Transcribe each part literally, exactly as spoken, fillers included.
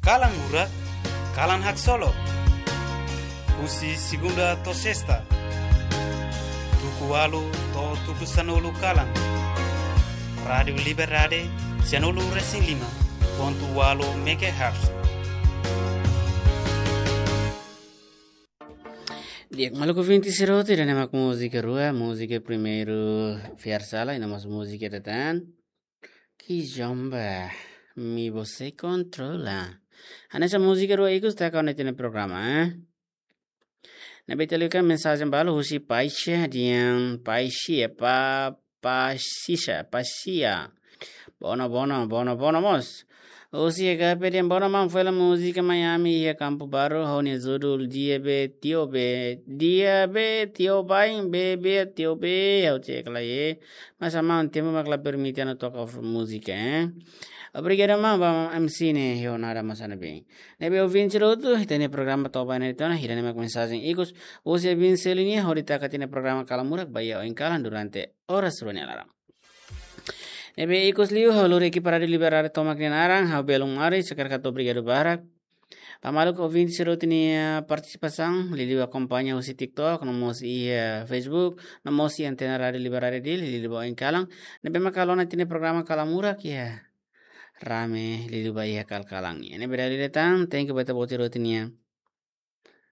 Kalan Murak, kalan haksolok. Husi segunda to'o sesta, tuku ualu to'o tuku sanulu kalan. Rádiu Liberdade, sianulu resin lima pontu ualu megahertz. Di'ak, maluk ouvinte sira hotu, ida-ne'e mak múzika rua, múzika primeiru Fiar Sala, i no mós múzika ida tan, Kizomba, Mi Você Controla. Hanesan múzika rua ikus taka ona ita-nia programa, eh? Ne'ebé ita liu ka mensajen balu husi Paixi, dehan Paixi, eh, pa, Paixi, Paixi. Bono, bono, bono, bono mós. Husi H P dehan bono maun, fó hela múzika Miami iha Kampu Baru, ho nia judul Dia Be Tio Be, Dia Be Tio Bain, Be Be Tio Be, ha'u cek lai, eh. Mas maun, tempu mak la permite atu toka múzika, eh. Obrigadu maun, ba M C ne'e, ho nada mas ana bem. Ne'ebé ouvinte sira hotu, ita-nia programa to'o ba ne'e tiha ona, ida-ne'e mak mensajen ikus husi ouvinte sira-nia, hodi taka ita-nia programa Kalan Murak ba iha oin kalan durante oras rua nia laran. Ne'ebé ikus liu, ha'u lori ekipa Rádiu Liberdade tomak nia naran, ha'u belun maris, hakarak hato'o obrigadu barak ba maluk ouvinte sira hotu nia partisipasaun, liuliu akompaña husi TikTok, no mós iha Facebook, no mós iha antena Rádiu Liberdade Dili, liuliu ba oin kalan. Ne'ebé mak halo ona ita-nia programa Kalan Murak, ya. Rame, liuliu ba iha kalan-kalan. Ya, ne'ebé dala ida tan, thank you ba ita-boot sira hotu nia,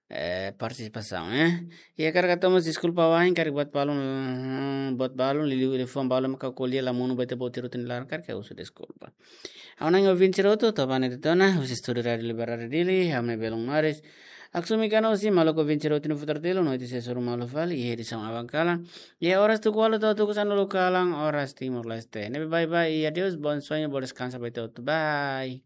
eh, partisipasaun, eh. Ya, hakarak hato'o mós deskulpa wa'in, karik buat balun, hmm, buat balun, liuliu liafuan balun mak ha'u ko'alia la monu ba ita-boot sira hotu nia laran, karik ha'u husu deskulpa. Ha'u-nia ouvinte sira hotu, to'o ba ne'e tiha ona, husi estúdiu Rádiu Liberdade Dili, ha'u-nia belun maris. Aksumi kana husi maluk ouvinte sira hotu nia futar telu, no ita sei hasoru malu fali iha edisaun aban kalan. Iha oras tuku ualu to'o tuku sanulu kalan, oras Timor-Leste. Ne'ebé bye bye, i adeus, bom sonho, bom descanso ba ita hotu. Bye.